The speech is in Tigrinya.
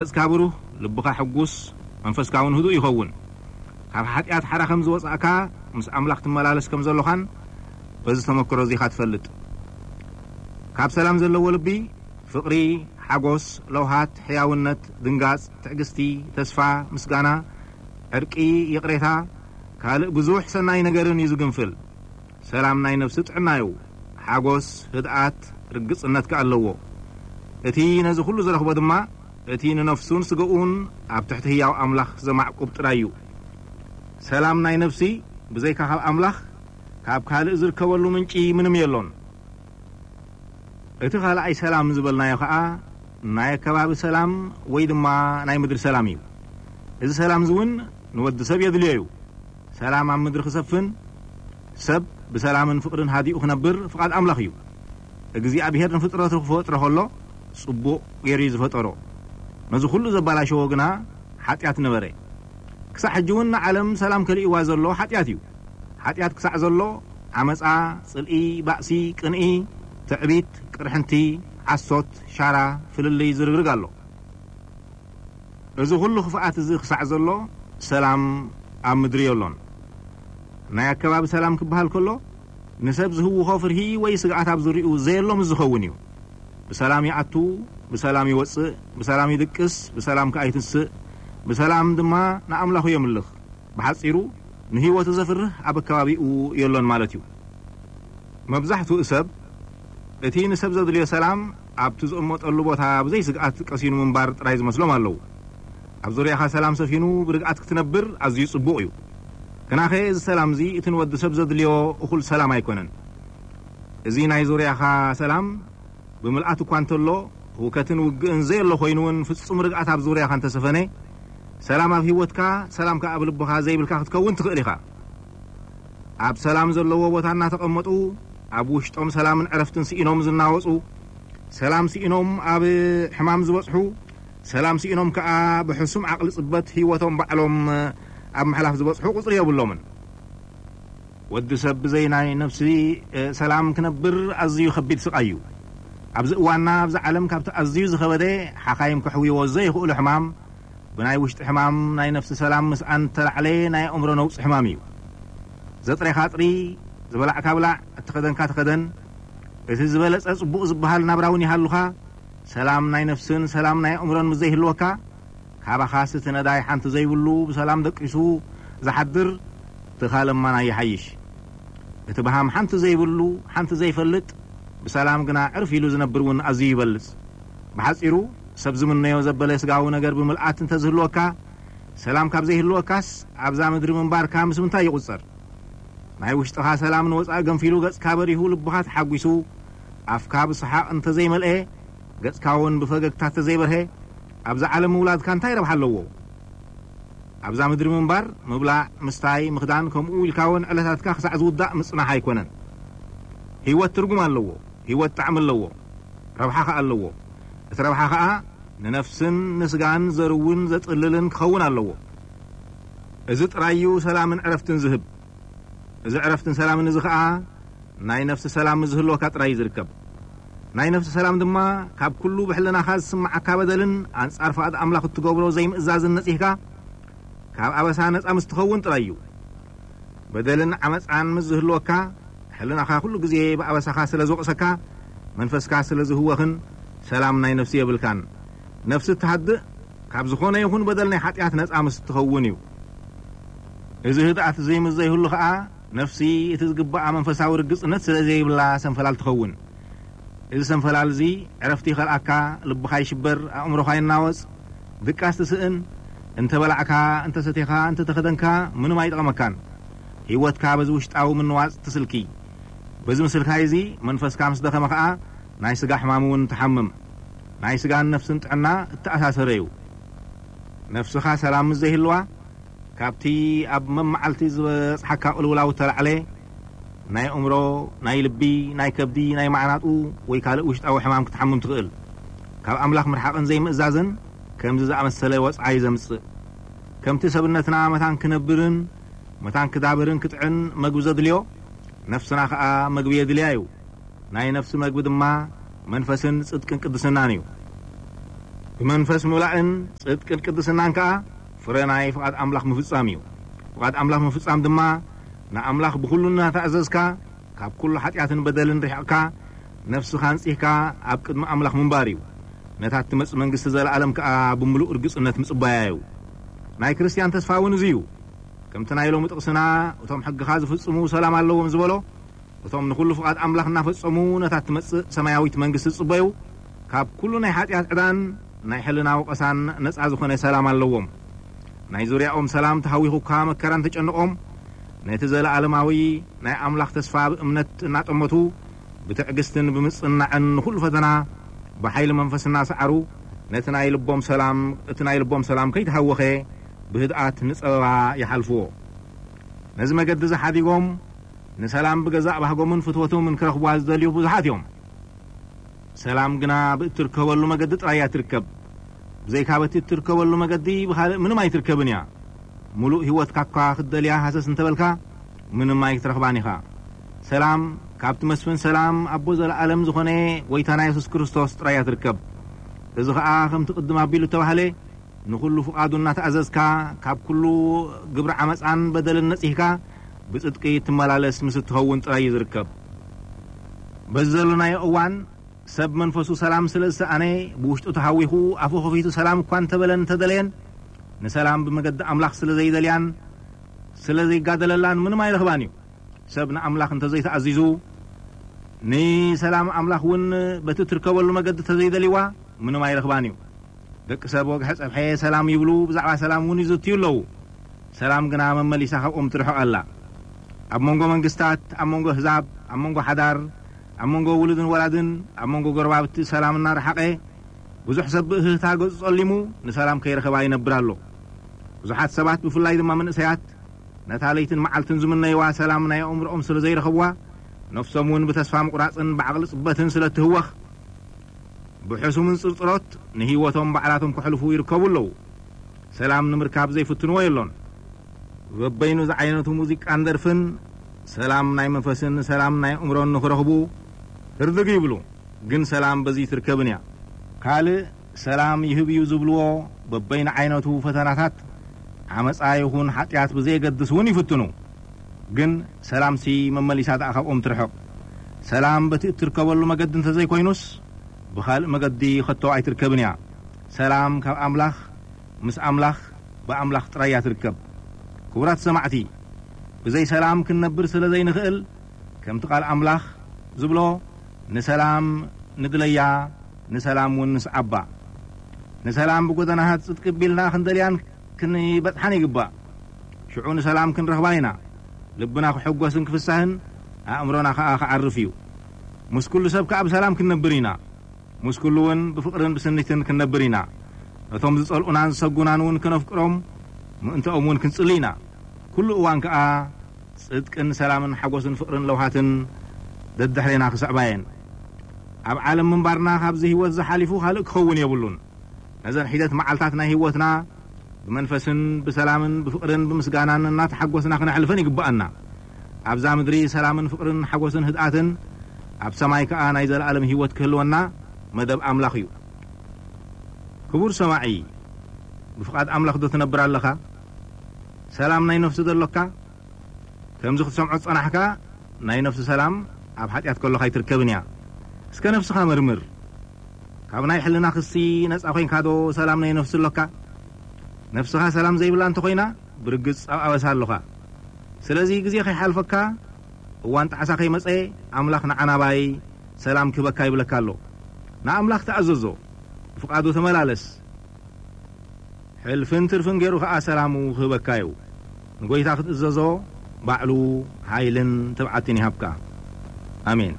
ገጽካ ብሩህ፣ ልብኻ ሕጉስ፣ መንፈስካ እውን ህዱእ ይኸውን። ካብ ሓጢኣት ሓራ ከም ዝወጻእካ፣ ምስ ኣምላኽ ትመላለስ ከም ዘሎኻን በዚ ተመክሮ እዚ ኢኻ ትፈልጥ። ካብ ሰላም ዘለዎ ልቢ፣ ፍቕሪ፣ ሓጎስ፣ ለውሃት፣ ሕያውነት፣ ድንጋጽ፣ ትዕግስቲ፣ ተስፋ፣ ምስጋና፣ ዕርቂ፣ ይቕሬታ፣ ካልእ ብዙሕ ሰናይ ነገርን እዩ ዝግንፍል። ሰላም ናይ ነፍሲ ጥዕና እዩ። ሓጎስ፣ ህድኣት፣ ርግጽነት ከኣ ኣለዎ። እቲ ነዚ ኩሉ ዝረኽቦ ድማ፣ እቲ ንነፍሱን ስጋኡን ኣብ ትሕቲ ህያው ኣምላኽ ዘማዕቁብ ጥራይ እዩ። ሰላም ናይ ነፍሲ ብዘይካ ካብ ኣምላኽ፣ ካብ ካልእ ዝርከበሉ ምንጪ ምንም የሎን። እቲ ካልኣይ ሰላም ዝበልናዮ ኸኣ፣ ናይ ኣከባቢ ሰላም ወይ ድማ ናይ ምድሪ ሰላም እዩ። እዚ ሰላም እዚ እውን ንወዲ ሰብ የድልዮ እዩ። ሰላም ኣብ ምድሪ ክሰፍን፣ ሰብ ብሰላምን ፍቕርን ሃዲኡ ክነብር ፍቓድ ኣምላኽ እዩ። እግዚኣብሄር ንፍጥረቱ ክፈጥሮ ከሎ፣ ጽቡቕ ገይሩ እዩ ዝፈጠሮ። ነዚ ኩሉ ዘባላሸዎ ግና ሓጢኣት ነበረ። ክሳዕ ሕጂ እውን ንዓለም ሰላም ከሊእዋ ዘሎ ሓጢኣት እዩ። ሓጢኣት ክሳዕ ዘሎ፣ ዓመጻ፣ ጽልኢ፣ ባእሲ፣ ቅንኢ፣ ትዕቢት፣ ቅርሕንቲ፣ ዓሶት፣ ሻራ፣ ፍልልይ ዝርግርግ ኣሎ። እዚ ኩሉ ክፍኣት እዚ ክሳዕ ዘሎ፣ ሰላም ኣብ ምድሪ የሎን። ናይ ኣከባቢ ሰላም ክበሃል ከሎ፣ ንሰብ ዝህውኾ ፍርሂ ወይ ስግኣት ኣብ ዙርያኡ ዘየሎ ምስ ዝኸውን እዩ። ብሰላም ይኣቱ፣ ብሰላም ይወጽእ፣ ብሰላም ይድቅስ፣ ብሰላም ከኣ ይትንስእ፣ ብሰላም ድማ ንኣምላኹ የምልኽ። ብሓጺሩ፣ ንህይወቱ ዘፍርህ ኣብ ኣከባቢኡ የሎን ማለት እዩ። መብዛሕትኡ ሰብ፣ እቲ ንሰብ ዘድልዮ ሰላም ኣብቲ ዝቕመጠሉ ቦታ ብዘይ ስግኣት ቀሲኑ ምንባር ጥራይ ዝመስሎም ኣለዉ። ኣብ ዙርያኻ ሰላም ሰፊኑ ብርግኣት ክትነብር ኣዝዩ ጽቡቕ እዩ። ግናኸ እዚ ሰላም እዚ እቲ ንወዲ ሰብ ዘድልዮ እኹል ሰላም ኣይኮነን። እዚ ናይ ዙርያኻ ሰላም ብምልኣት እኳ እንተሎ፣ ህውከትን ውግእን ዘየሎ ኮይኑ እውን ፍጹም ርግኣት ኣብ ዙርያኻ እንተሰፈነ፣ ሰላም ኣብ ህይወትካ፣ ሰላም ከኣ ኣብ ልብኻ ዘይብልካ ክትከውን ትኽእል ኢኻ። ኣብ ሰላም ዘለዎ ቦታ እናተቐመጡ፣ ኣብ ውሽጦም ሰላምን ዕረፍትን ስኢኖም ዝናወጹ፣ ሰላም ስኢኖም ኣብ ሕማም ዝበጽሑ፣ ሰላም ስኢኖም ከኣ ብሕሱም ዓቕሊ ጽበት ህይወቶም ባዕሎም ኣብ ምሕላፍ ዝበጽሑ ቁጽሪ የብሎምን። ወዲ ሰብ ብዘይ ናይ ነፍሲ፣ እ፣ ሰላም ክነብር ኣዝዩ ከቢድ ስቓይ እዩ። ኣብዚ እዋንና ኣብዛ ዓለም ካብቲ ኣዝዩ ዝኸበደ ሓኻይም ከሕውይዎ ዘይኽእሉ ሕማም፣ ብናይ ውሽጢ ሕማም ናይ ነፍሲ ሰላም ምስኣን እተላዕለ ናይ ኣእምሮ ነውጺ ሕማም እዩ። ዘጥሬኻ ኣጥሪ፣ ዝበላዕካ ብላዕ፣ እተኸደንካ ተኸደን፣ እቲ ዝበለጸ ጽቡቕ ዝበሃል ናብራ እውን ይሃሉኻ፣ ሰላም ናይ ነፍስን ሰላም ናይ ኣእምሮን ምስ ዘይህልወካ፣ ካባኻስ እቲ ነዳይ ሓንቲ ዘይብሉ ብሰላም ደቂሱ ዝሓድር ትኻ ለማና ይሓይሽ። እቲ በሃም ሓንቲ ዘይብሉ፣ ሓንቲ ዘይፈልጥ፣ ብሰላም ግና ዕርፍ ኢሉ ዝነብር እውን ኣዝዩ ይበልጽ። ብሓጺሩ፣ ሰብ ዝምነዮ ዘበለ ስጋዊ ነገር ብምልኣት እንተዝህልወካ፣ ሰላም ካብ ዘይህልወካስ ኣብዛ ምድሪ ምንባርካ ምስ ምንታይ ይቑጸር? ናይ ውሽጥኻ ሰላም ንወጻኢ ገንፊሉ ገጽካ በሪሁ ልብኻ ተሓጒሱ፣ ኣፍካ ብሰሓቕ እንተዘይመልኤ፣ ገጽካ እውን ብፈገግታ እንተዘይበርሀ፣ ኣብዛ ዓለም ምውላድካ እንታይ ረብሓ ኣለዎ? ኣብዛ ምድሪ ምንባር፣ ምብላዕ፣ ምስታይ፣ ምኽዳን፣ ከምኡ ኢልካ እውን ዕለታትካ ክሳዕ ዝውዳእ ምጽናሕ ኣይኮነን። ህይወት ትርጉም ኣለዎ። ህይወት ጣዕሚ ኣለዎ። ረብሓ ኸኣ ኣለዎ። እቲ ረብሓ ኸኣ ንነፍስን ንስጋን ዘርውን ዘጥልልን ክኸውን ኣለዎ። እዚ ጥራይ እዩ ሰላምን ዕረፍትን ዝህብ። እዚ ዕረፍትን ሰላምን እዚ ኸኣ ናይ ነፍሲ ሰላም ምስ ዝህልወካ ጥራይ እዩ ዝርከብ። ናይ ነፍሲ ሰላም ድማ ካብ ኩሉ ብሕልናኻ ዝስምዓካ በደልን ኣንጻር ፍቓድ ኣምላኽ እትገብሮ ዘይምእዛዝን ነጺህካ ካብ ኣበሳ ነጻ ምስ ትኸውን ጥራይ እዩ። በደልን ዓመጻን ምስ ዝህልወካ፣ ሕልናኻ ኩሉ ግዜ ብኣበሳኻ ስለ ዝወቕሰካ፣ መንፈስካ ስለ ዝህወኽን ሰላም ናይ ነፍሲ የብልካን። ነፍሲ እትሃድእ ካብ ዝኾነ ይኹን በደል ናይ ሓጢኣት ነጻ ምስ እትኸውን እዩ። እዚ ህድኣት እዚ ምስ ዘይህሉ ኸኣ፣ ነፍሲ እቲ ዝግባኣ መንፈሳዊ ርግጽነት ስለ ዘይብላ ሰንፈላል ትኸውን። እዚ ሰንፈላል እዚ ዕረፍቲ ይኸልኣካ፣ ልብኻ ይሽበር፣ ኣእምሮኻ ይናወጽ፣ ድቃስ ትስእን። እንተ በላዕካ፣ እንተ ሰቴኻ፣ እንተ ተኸደንካ፣ ምንም ኣይጠቕመካን። ህይወትካ በዚ ውሽጣዊ ምንዋጽ ትስልኪ። በዚ ምስልካይ እዚ መንፈስካ ምስ ደኸመ ኸኣ፣ ናይ ስጋ ሕማም እውን ትሓምም። ናይ ስጋን ነፍስን ጥዕና እተኣሳሰረ እዩ። ነፍስኻ ሰላም ምስ ዘይህልዋ፣ ካብቲ ኣብ መመዓልቲ ዝበጽሓካ ቅልውላው እተላዕለ፣ ናይ ኣእምሮ፣ ናይ ልቢ፣ ናይ ከብዲ፣ ናይ ማዕናጡ ወይ ካልእ ውሽጣዊ ሕማም ክትሓምም ትኽእል። ካብ ኣምላኽ ምርሓቕን ዘይምእዛዝን ከምዚ ዝኣመሰለ ወጽዓ እዩ ዘምጽእ። ከምቲ ሰብነትና መታን ክነብርን መታን ክዳብርን ክጥዕን መግቢ ዘድልዮ፣ ነፍስና ኸኣ መግቢ የድልያ እዩ። ናይ ነፍሲ መግቢ ድማ መንፈስን ጽድቅን ቅድስናን እዩ። ብመንፈስ ምብላእን ጽድቅን ቅድስናን ከኣ ፍረ ናይ ፍቓድ ኣምላኽ ምፍጻም እዩ። ፍቓድ ኣምላኽ ምፍጻም ድማ ንኣምላኽ ብኹሉ እናተኣዘዝካ፣ ካብ ኩሉ ሓጢኣትን በደልን ርሒቕካ፣ ነፍስኻ ኣንጺህካ ኣብ ቅድሚ ኣምላኽ ምንባር እዩ። ነታ እትመጽእ መንግስቲ ዘለኣለም ከኣ ብምሉእ ርግጽነት ምጽባያ እዩ። ናይ ክርስትያን ተስፋ እውን እዚ እዩ። ከምቲ ናይ ሎሚ ጥቕስና፣ እቶም ሕግኻ ዝፍጽሙ ሰላም ኣለዎም ዝበሎ፣ እቶም ንኹሉ ፍቓድ ኣምላኽ እናፈጸሙ ነታ እትመጽእ ሰማያዊት መንግስቲ ዝጽበዩ፣ ካብ ኩሉ ናይ ሓጢኣት ዕዳን ናይ ሕልና ወቐሳን ነጻ ዝኾነ ሰላም ኣለዎም። ናይ ዙርያኦም ሰላም ተሃዊኹ እኳ መከራ እንተጨንቖም፣ ነቲ ዘለኣለማዊ ናይ ኣምላኽ ተስፋ ብእምነት እናጠመቱ፣ ብትዕግስትን ብምጽንናዕን ንኹሉ ፈተና ብሓይሊ መንፈስ እናሰዓሩ፣ ነቲ ናይ ልቦም ሰላም፣ እቲ ናይ ልቦም ሰላም ከይተሃወኸ ብህድኣት ንጸበባ ይሓልፍዎ። ነዚ መገዲ እዚ ሓዲጎም ንሰላም ብገዛእ ባህጎምን ፍትወቶምን ክረኽቡዋ ዝደልዩ ብዙሓት እዮም። ሰላም ግና ብእትርከበሉ መገዲ ጥራይ እያ ትርከብ። ብዘይካ በቲ እትርከበሉ መገዲ ብኻልእ ምንም ኣይትርከብን እያ። ምሉእ ህይወትካ እኳ ክትደልያ ሃሰስ እንተበልካ፣ ምንም ኣይክትረኽባን ኢኻ። ሰላም ካብቲ መስፍን ሰላም ኣቦ ዘለኣለም ዝኾነ ጎይታና የሱስ ክርስቶስ ጥራይ እያ ትርከብ። እዚ ኸኣ ከምቲ ቅድም ኣቢሉ እተባህለ፣ ንኹሉ ፍቓዱ እናተኣዘዝካ፣ ካብ ኩሉ ግብሪ ዓመጻን በደልን ነጺህካ፣ ብጽድቂ ትመላለስ ምስ እትኸውን ጥራይ እዩ ዝርከብ። በዚ ዘሎናዮ እዋን፣ ሰብ መንፈሱ ሰላም ስለ ዝሰኣነ፣ ብውሽጡ ተሃዊኹ፣ ኣፉ ኸፊቱ ሰላም እኳ እንተበለን እንተደለየን፣ ንሰላም ብመገዲ ኣምላኽ ስለ ዘይደልያን ስለ ዘይጋደለላን ምንም ኣይረኽባን እዩ። ሰብ ንኣምላኽ እንተዘይተኣዚዙ፣ ንሰላም ኣምላኽ እውን በቲ እትርከበሉ መገዲ እንተዘይደልይዋ፣ ምንም ኣይረኽባን እዩ። ደቂ ሰብ ወግሐ ጸብሐ ሰላም ይብሉ፣ ብዛዕባ ሰላም እውን ይዝትዩ ኣለዉ። ሰላም ግና መመሊሳ ካብኦም ትርሕቕ ኣላ። ኣብ መንጎ መንግስታት፣ ኣብ መንጎ ኣህዛብ፣ ኣብ መንጎ ሓዳር፣ ኣብ መንጎ ውሉድን ወላድን፣ ኣብ መንጎ ጎረባብቲ ሰላም እናረሓቐ፣ ብዙሕ ሰብ ብእህህታ ገጹ ጸሊሙ፣ ንሰላም ከይረኸባ ይነብር ኣሎ። ብዙሓት ሰባት፣ ብፍላይ ድማ መንእሰያት፣ ነታ ለይትን መዓልትን ዝምነይዋ ሰላም ናይ ኣእምሮኦም ስለ ዘይረኸብዋ፣ ነፍሶም እውን ብተስፋ ምቑራጽን ብዓቕሊ ጽበትን ስለ እትህወኽ፣ ብሕሱምን ጽርጽሮት ንህይወቶም ባዕላቶም ከሕልፉ ይርከቡ ኣለዉ። ሰላም ንምርካብ ዘይፍትንዎ የሎን። በበይኑ ዝዓይነቱ ሙዚቃን ደርፍን ሰላም ናይ መንፈስን ሰላም ናይ ኣእምሮን ንኽረኽቡ ህርድግ ይብሉ። ግን ሰላም በዚ ትርከብን እያ። ካልእ ሰላም ይህብ እዩ ዝብልዎ በበይኑ ዓይነቱ ፈተናታት፣ ዓመጻ ይኹን ሓጢኣት ብዘየገድስ እውን ይፍትኑ። ግን ሰላምሲ መመሊሳ ደኣ ካብኦም ትርሕቕ። ሰላም በቲ እትርከበሉ መገዲ እንተዘይኮይኑስ፣ ብኻልእ መገዲ ኸቶ ኣይትርከብን እያ። ሰላም ካብ ኣምላኽ፣ ምስ ኣምላኽ፣ ብኣምላኽ ጥራይ እያ ትርከብ። ክቡራት ሰማዕቲ፣ ብዘይ ሰላም ክንነብር ስለ ዘይንኽእል፣ ከምቲ ቃል ኣምላኽ ዝብሎ፣ ንሰላም ንድለያ፣ ንሰላም እውን ንስዓባ። ንሰላም ብጎደናታት ጽድቂ ቢልና ክንደልያን ክንበጽሓን ይግባእ። ሽዑ ንሰላም ክንረኽባ ኢና። ልብና ክሕጎስን ክፍሳህን፣ ኣእምሮና ኸኣ ክዓርፍ እዩ። ምስ ኩሉ ሰብ ከኣ ብሰላም ክንነብር ኢና። ምስ ኩሉ እውን ብፍቕርን ብስኒትን ክንነብር ኢና። ነቶም ዝጸልኡናን ዝሰጉናን እውን ከነፍቅሮም፣ ምእንተኦም እውን ክንጽሊ ኢና። ኩሉ እዋን ከኣ ጽድቅን ሰላምን ሓጎስን ፍቕርን ለውሃትን ደድሕሬና ክስዕባ እየን። ኣብ ዓለም ምንባርና ካብዚ ህይወት ዝሓሊፉ ካልእ ክኸውን የብሉን። ነዘን ሒደት መዓልታት ናይ ህይወትና ብመንፈስን ብሰላምን ብፍቕርን ብምስጋናን እናተሓጎስና ክነሕልፈን ይግብኣና። ኣብዛ ምድሪ ሰላምን ፍቕርን ሓጎስን ህድኣትን፣ ኣብ ሰማይ ከኣ ናይ ዘለኣለም ህይወት ክህልወና መደብ ኣምላኽ እዩ። ክቡር ሰማዒ፣ ብፍቓድ ኣምላኽ ዶ ትነብር ኣለኻ? ሰላም ናይ ነፍሲ ዶ ኣሎካ? ከምዚ ክትሰምዖ ዝጸናሕካ፣ ናይ ነፍሲ ሰላም ኣብ ሓጢኣት ከሎኻ ኣይትርከብን እያ። እስከ ነፍስኻ መርምር። ካብ ናይ ሕልና ክሲ ነጻ ኮይንካ ዶ ሰላም ናይ ነፍሲ ኣሎካ? ነፍስኻ ሰላም ዘይብላ እንተኾይና፣ ብርግጽ ኣብ ኣበሳ ኣሎኻ። ስለዚ ግዜ ከይሓልፈካ፣ እዋን ጣዕሳ ከይመጸ፣ ኣምላኽ ንዓ ናባይ ሰላም ክህበካ ይብለካ ኣሎ። ንኣምላኽ ተኣዘዞ፣ ብፍቓዱ ተመላለስ። ሕልፍን ትርፍን ገይሩ ኸኣ ሰላሙ ክህበካ እዩ። ንጎይታ ክትእዘዞ ባዕሉ ሓይልን ትብዓትን ይሃብካ። ኣሜን።